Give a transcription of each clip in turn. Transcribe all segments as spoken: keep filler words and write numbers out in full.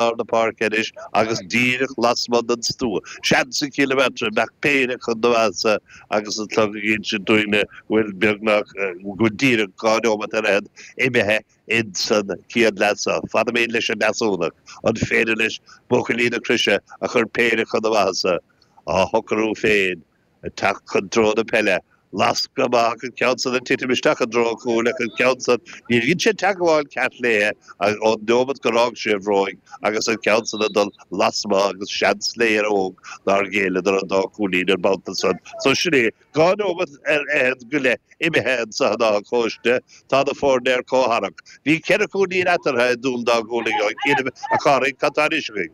lár na páirce anois agus díreach lasmuigh den stua. Seans ag Cill na Martra bheadh péire chun na mheasa agus an clog ag insint dúinne go bhfuil beagnach, go bhfuil díreach dhá neomat ar fhichead imithe insan chéad leath seo. Fanfaimid leis an Deasúnach. An féidir leis buachaillí na Croise a chur péire chun na maitheasa á shocrú féin ag teacht chun treo na peile? Lascadh amach an ceann san ag titim isteach i dtreo an chúil ach an ceann san, níor dhein sé teagmháil ceart léi ón neomat gur fhág sé a bhróig agus an ceann san ag dul lasmuigh agus seans le Éire Óg nár ghéilleadar an dá chúilín an babhta san. So sin é, dhá neomat ar fhichead go leith imithe anso in Áth Cóiste, tá na foirne ar comhtharrac. Bhí ceithre chúilín eatarthu i dTuaim Dá Gualainn ó chianaibh, a Chárthaigh, cad tá anois againn?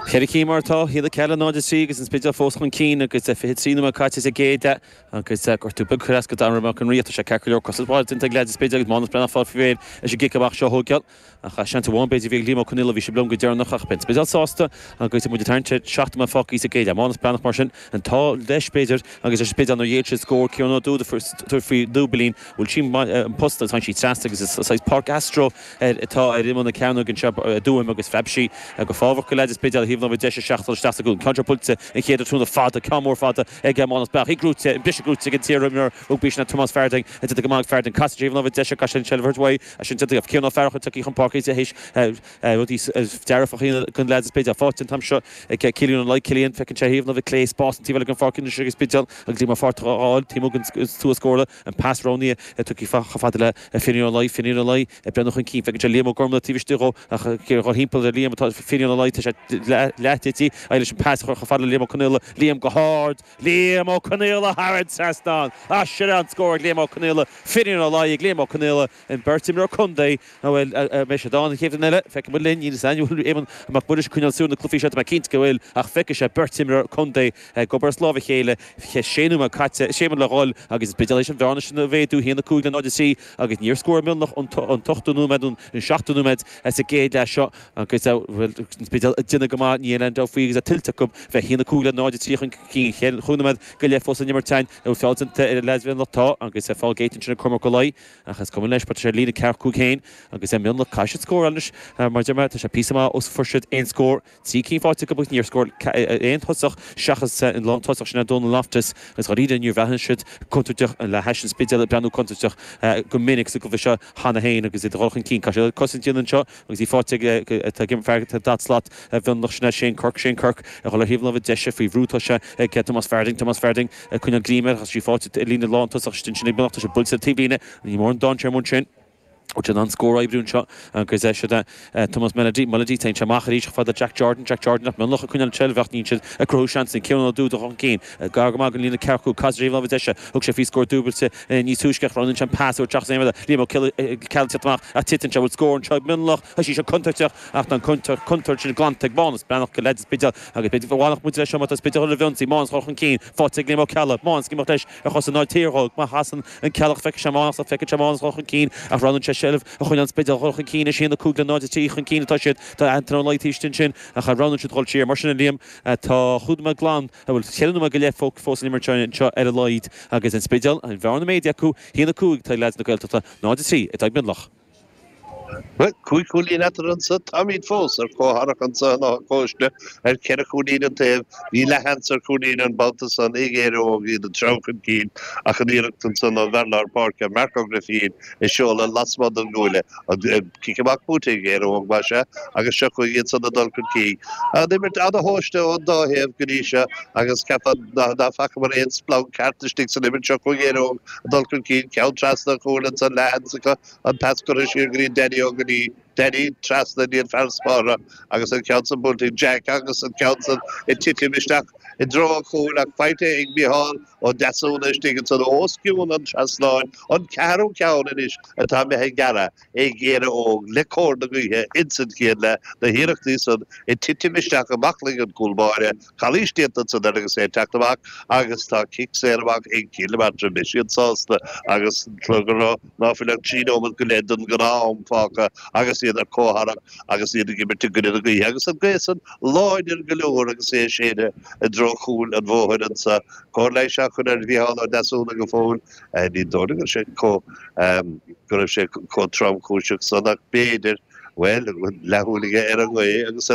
Ceithre cinn mar atá, a haon a ceathair le náid a trí agus an Spidéal fós chun cinn agus fiche trí nóiméad caite sa gcéad leath agus gortú beag curtha as do Darragh Mac an Rí. Tá sé ceart go leor cosaint mhaith déanta ag leaids an Spidéil agus Mánas Breathnach fáil faoi réir leis an gcic amach seo a thógáil. Ach seans amháin b'fhéidir a bhí ag Liam Ó Conaola, bhí sé liom go deireanach ach beidh an Spidéal sásta agus muid ag tarraingt ar seacht nóiméad fágtha sa gcéad leath. Mánas Breathnach mar sin, an t-ádh leis b'fhéidir agus leis an Spidéal nár ghéill siad scór Ciarán Ó Dúda tabhairt faoi dúbailín. Bhuail sí an posta agus tháinig sí trasna agus is saghas páirc astro atá ar imeall na cearnóige anseo i dTuaim agus phreab sí go fábhach go leaids an Spidéil ar thaobh na láimhe deise isteach dul isteach sa gcúl. Ceann seo buailte an chéad tráthnóna fada, ceann mór fada ag Mánas Breathnach. Í gnóite, an briseadh gnóite ag an t-iarimreoir rugbaí sin Tomás Farthing. Déanta go maith ag Farthing. Casann sé ar thaobh na láimhe deise, caithfidh sé an tseilbh a thabhairt uaidh. Sin déanta ag Ciarán Ó Fearchair tagtha chun páirce théis rudaí dearfacha a dhéanamh don leaids an Spidéil. Faighte an t-am seo ag Cillian Ó Laoi. Cillian, feiceann sé ar thaobh na láimhe clé spás an taobh eile den pháirc anois ag an Spidéal agus Liam Ó Fátharta á fháil taobh amuigh den stua scórála. An pas roghnaithe tugtha chomh fada le Finian Ó Laoi. Finian Ó Laoi ag breathnú chun cinn. Feiceann sé Liam Ó Gormlaith taobh istigh dhó ach ag dul thimpeall ar Liam atá Finian Ó Laoi. Tá sé leath tite. Leis an pas a chur chomh fada le Liam Ó Conaola. Liam go hard. Liam Ó Conaola thar an trasnán! Ah, sin é an scór ag Liam Ó Conaola. Finian Ó Laoi ag Liam Ó Conaola, an beirt imreoir contae. An bhfuil, an mbeidh siad ann an chéad bhliain eile? Feicfidh muid linn. Níl a fhios againn an bhfuil Éamonn Mac Muiris ag coinneáil súil ar na cluichí seo, tá mé cinnte go bhfuil, ach feicfidh sé beirt imreoir contae ag obair as lámh a chéile. Sé nóiméad caite, sé nóiméad le dhul agus an Spidéal théis an bhearna sin a mhéadú, a haon a cúig le náid a trí agus níor scór Mionlach an t-ochtú nóiméad nó an seachtú nóiméad sa gcéad leath seo agus bhuel an Spidéal ag déanamh go maith, níl aon dabht faoi agus é tuillte acu bheith a haon a cúig le náid a trí chun cinn. Chúig nóiméad go leith fós san imirt againn. An bhfuil feall déanta ar leaids Mhionlach? Tá agus feall géillte ansin ag Cormac Ó Laoi ach is cuma leis mar tá sé ar líne ceathracha cúig féin agus Mionlach caithfidh siad scóráil anois mar deir mé tá sé píosa maith ó fuair siad aon scór. Trí cinn faighte acu agus níor scór aon tosach seachas an lán tosach sin Donal Loftus agus dháiríre níor bhreathnaigh siad contúirteach le hais an Spidéil ag breathnú contúirteach go minic sa gcluiche seo cheana féin agus iad ag dul chun cinn. Caithfidh siad cosaint a dhéanamh anseo agus í faighte ag fear daichead slat Mhionlach sin é Shane Quirke. Shane Quirke ag dul ar thaobh na láimhe deise faoi bhrú tá sé ag Tomás Farthing. Tomás Farthing ag coinneáil greim air agus í faighte i líne lán tosach ansin ag Mionlach. Tá sé buailte ar taobhlíne. Ní mór an dainséar amuigh ansin. Bhfuil siad in ann scór a oibriú anseo agus siod é Tomás Mullady, Mullady, téann sé amach arís chomh fada le Jack Jordan, Jack Jordan ach Mionlach ag coinneáil an tseilbh ach níl siad ag cruthú seansanna. Ciarán Ó Dúda chun cinn, gar go maith don líne ceathracha cúig, casann sé ar thaobh na láimhe deise, thug sé faoi scór dúbailte níos túisce ach roghnaíonn sé an pas uaidh seachas aon rud eile. Liam Ó Ceallaigh ag teacht amach ach titeann sé, bhfuil scór anseo ag Mionlach, tá sí seo contúirteach ach tá an contúirt sin glanta ag Mánas Breathnach go leaids an Spidéil agus b'fhéidir go bhfanfadh muid leis seo má tá Spidéal roimh ionsaí, Mánas chun cinn, faighte ag Liam Ó Ceallaigh, Mánas ag imeacht leis ar chosa náid thiar dhó, má chasann an Ceallach feicfidh sé Mánas ach feiceann sé Mánas dul chun cinn ach roghnaíonn sé seilbh a choinneáil an Spidéal dul chun cinn anois a haon a cúig le náid a trí chun cinn atá siad. Tá Antaine Ó Laoi taobh istigh ansin ach roghnaíonn siad dul siar. Mar sin a Liam tá chúig nóiméad glan, bhuel ceithre nóiméad go leith fós san imirt anseo ar a laghad agus an Spidéal, an bhearna méadaithe acu, a haon a cúig atá ag leaids na Gaeltachta, náid a trí atá ag Mionlach. Bhuel, cúig chúilín eatarthu anso. Táimid fós ar comhtharrac anso in Áth Cóiste ar cheithre chúilín an taobh. Bhí leathsheans ar chúilín an babhta san ag Éire Óg, iad ag treabhadh chun cinn ach an iarracht ansan ón bhfear lár páirce, Marc Ó Grifín, ag seoladh lasmuigh den gcuaille. An cic amach buaite ag Éire Óg, más ea, agus seo chugainn iad san ag dul chun cinn. An imirt ana-thomhaiste ón dá thaobh go dtí seo agus cheapfá ná facamar aon splanc ceart istigh san imirt. Seo chugainn Éire Óg ag dul chun cinn, ceann trasna an chúil ansan, leathsheans acu. An pas curtha siar go dtí Danny Ó Gnaoi, Danny trasna go dtí an fear spártha agus an ceann san buailte ag Jack agus an ceann san ag titim isteach i dtreo an chúil ach faighte ag Micheál Ó Deasúna istigh ansan os cionn an trasnáin, an ceathrú ceann anois atá imithe ag gearradh ag Éire Óg le cóir na gaoithe ins an chéad leath, na hiarrachtaí san ag titim isteach i mbaclainn an chúl báire. Calaois déanta ansan air agus é ag teacht amach agus tá cic saor amach ag Cill na Martra. Beidh siad sásta agus go raibh ná fuil ach trí nóiméad go leith den ghnáth-am fágtha agus iad ar comhtharrac agus iad ag imirt i gcoinne na gaoithe agus an ghaoth san láidir go leor agus é ag séideadh i dtreo chúil an bhóthair anso. Cóir leighis á chur ar Mhícheál Ó Deasúna go fóill. Ní dóigh liom go raibh sé chomh go raibh sé chomh tromchúiseach san ach b'fhéidir Bhuel, leathshúil aige ar an ngaoth agus ar